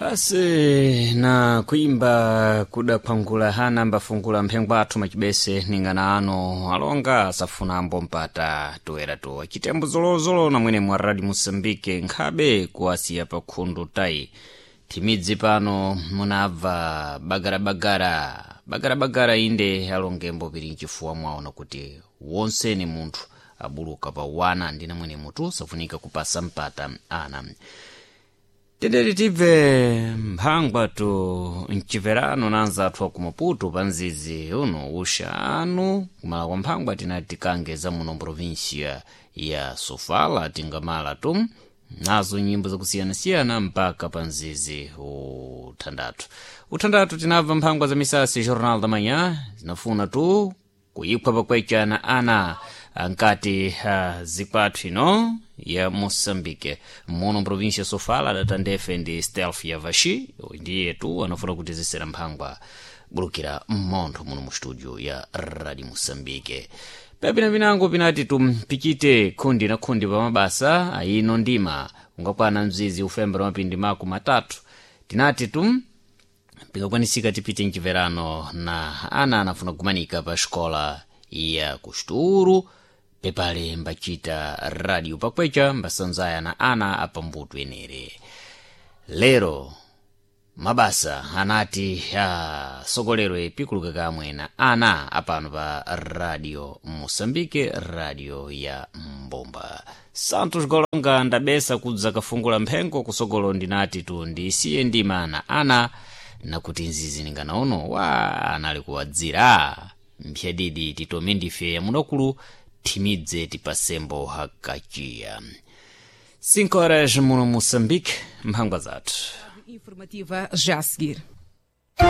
Basi na kuimba kuda phwangula hana mbafungula mphengwa athu macibese ning'ana ano alonga asafuna ambo mpata toweratowa chitembo zolozolo na mwene mwa radio Moçambique nkhabe kuwasiya pa khundu tayi thimidzi pano munabva bagarabagara bagarabagara inde alongembo pili mchifuwa mwaona kuti wonsene munthu abuluka pa wana ndina mwene mutu safunika kupasa mpata ana. Tendere tibve mphangwa tu mciverano na anzathu aku Maputo pa mzizi uno uxa anu kumala kwa mphangwa tinati tikange za muno província ya Sofala tingamala tu nazo nyimbo zakusiyanasiyana mpaka pa mzizi uthandatu. Uthandatu tinabva mphangwa za misasi Jornal da Manhã zinafuna tu kuyiphwa pakwecana ana ankati zikwathu ino ya Moçambique muno província Sofala adatandefe ndi Stealth ya Vaxi ndiye tu anafuna kuti zisera mphangwa bulukira mmontho muno mu studio ya Radio Moçambique. Pepina pinango pinati tumpichite khundi na khundi pa mabasa ayino ndima ungakwana mzizi ufembera mapindi mako matatu tinati tum pikakwanisika tipite mchiverano na ana anafuna kumanika pa xikola ya kuxituru pepale mbacita radio pakweca mbasanzaya na ana apambuto enere. Lero mabasa anati asogolerwe pikuluka kamwe na ana apano pa Radio Moçambique, radio ya mbomba. Santos Golonga ndabesa kudza kafungula mphengo kusogolo ndinati tu ndisiye ndima na ana nakuti nzizi ninganaono wa anali kuwadzira mphyadidi titome ndife yamunakulu thimidze tipasembo hakaciya. 5 horas muno Moçambique, mphangwa zathu Informativa já a seguir.